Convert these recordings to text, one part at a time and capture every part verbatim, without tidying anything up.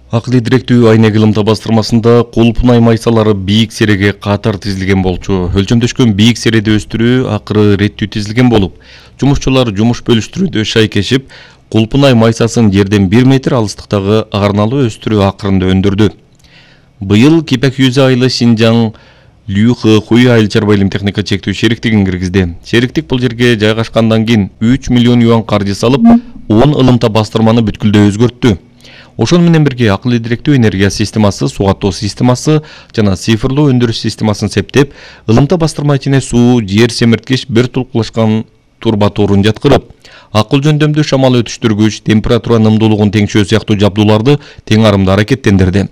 Акылы директүү Айнек ылымта бастырмасында Кулпунай майсалары бийик сереге катар тизилген болчу. Өлчөмдөшкөн бийик середи өстүрүү акыры реттүү тизилген болуп, жумушчулар жумуш бөлүштүрүүдө шайкешип, Кулпунай майсасын жерден бир метр алыстыктагы арналуу өстүрүү акырында өндүрдү. Быйыл Кипек Юза айлы Шинжаң Лүхы Хуй айыл чарба илим техника чектүү шериктигин киргизди. Шериктик бул жерге жайгашкандан кийин үч миллион юан каржы салып, он ылымта бастырманы бүткүлдөй өзгөрттү. Ошон менен бирге акылы директүү энергия системасы, суу каттоо системасы жана цифрлуу өндүрүш системасын септеп, ылымта бастырма ичине суу, жер семирткич, бир тулкулашкан турба торун жаткырып, акыл жөндөмдүү шамал өтүштүргүч, температура нымдуулугун теңшөө сыяктуу жабдууларды тең арымда аракеттендирди.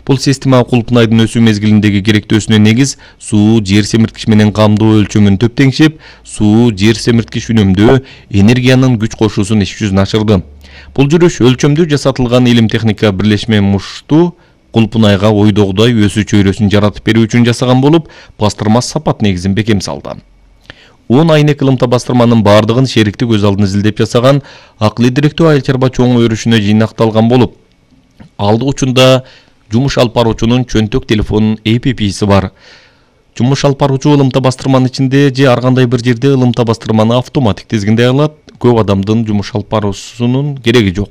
Бул система Кулпунайдын өсүү мезгилиндеги керектөөсүнө негиз суу, жер семирткич менен камдоо өлчөмүн төп теңшеп, суу, жер семирткич үнөмдөө, энергиянын күч кошуусун иш жүзүнө ашырды. Бул жүрүш өлчөмдүү жасатылган илим техника бирлешме мушту Кулпунайга ойдогудай өсүү чөйрөсүн жаратып берүү үчүн жасаган болуп, бастырма сапат негизин бекем салды. он Айнек ылымта бастырманын бардыгын шериктик өз алдын изилдеп жасаган акылы директүү айыл чарба чоң өрүшүнө жыйнакталган болуп, алды учунда жумуш алып баруучунун чөнтөк телефонунун A P P-си бар. Жумуш алып баруучу ылымта бастырманын ичинде же ар кандай бир жерде ылымта бастырманы автоматик тизгиндей алат, көп адамдын жумуш алып баруусунун кереги жок.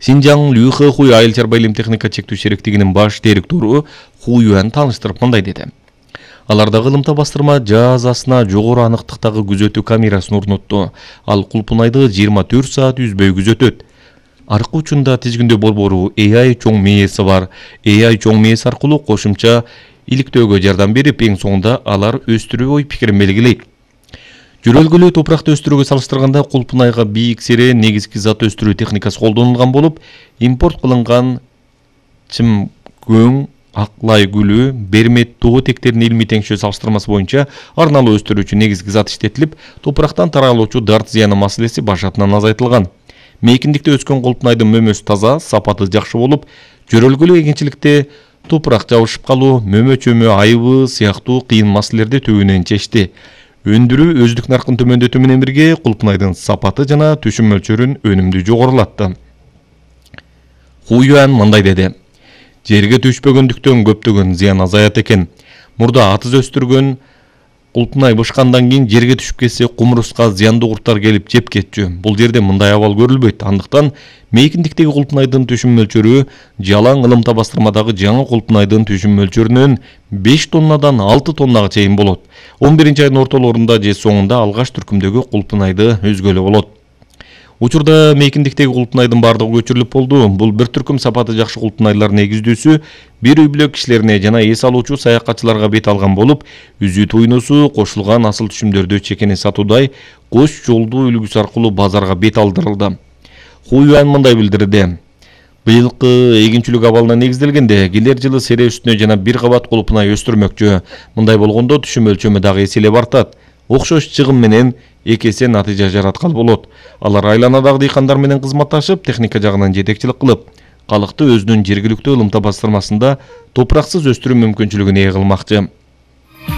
Шинжаң Лүхы Хуй айыл чарба илим техника чектүү шериктигинин баш директору Ху Юан тааныштырып мындай деди. Алардагы ылымта бастырма жазасына жогору аныктыктагы күзөтүү камерасын орнотту. Ал Кулпунайды жыйырма төрт саат үзбөй күзөтөт. Аркы учунда тизгиндөө борбору A I чоң мээси бар. A I чоң мээси аркылуу кошумча иликтөөгө жардам берип, эң соңунда алар өстүрүү ой пикирин белгилейт. Жөрөлгөлүү топуракты өстүрүүгө салыштырганда Кулпунайга бийик сере негизги зат өстүрүү техникасы колдонулган болуп, импорт кылынган чымкөң, аклай гүлү, бермет тоо тектеринин илмий теңшөө салыштырмасы боюнча арналуу өстүрүүчү негизги зат иштетилип, топурактан таралуучу дарт зыяны маселеси башатынан азайтылган. Мейкиндикте өскөн Кулпунайдын мөмөсү таза, сапаты жакшы болуп, жөрөлгөлүү эгинчиликте топурак жабышып калуу, мөмө чөмө айыбы сыяктуу кыйын маселелерди түбүнөн чечти. Өндүрүү өздүк наркын төмөндөтүү менен бирге Кулпунайдын сапаты жана түшүм мөлчөрүн өнүмдүү жогорулатты. Ху Юан мындай деди. Жерге түшпөгөндүктөн көптөгөн зыян азаят экен. Мурда атыз өстүргөн Кулпунай бышкандан кийин жерге түшүп кетсе, кумуруска зыяндуу курттар келип жеп кетчү. Бул жерде мындай абал көрүлбөйт. Андыктан мейкиндиктеги Кулпунайдын түшүм мөлчөрү жалаң ылымта бастырмадагы жаңы Кулпунайдын түшүм мөлчөрүнөн беш тоннадан алты тоннага чейин болот. он биринчи айдын ортолорунда же соңунда алгаш түркүмдөгү Кулпунайды өзгөлө болот. Учурда мейкиндиктеги Кулпунайдын бардыгы көчүрүлүп болду. Бул бир түркүм сапаты жакшы Кулпунайлар негиздүүсү бир үй бүлө кишилерине жана эс алуучу саякатчыларга бет алган болуп, үзүү туйнусу кошулган асыл түшүмдөрдү чекени сатуудай кош жолдуу үлгүсү аркылуу базарга бет алдырылды. Ху Юан мындай билдирди. Быйылкы эгинчүлүк абалына негизделгенде келер жылы сере үстүнө жана бир кабат Кулпунай өстүрмөкчү. Мындай болгондо түшүм өлчөмү дагы эселеп артат. Окшош чыгым менен эки эсе натыйжа жараткан болот. Алар айланадагы дыйкандар менен кызматташып, техника жагынан жетекчилик кылып, калыкты өзүнүн жергиликтүү ылымта бастырмасында топураксыз өстүрүү мүмкүнчүлүгүн ээ кылмакчы.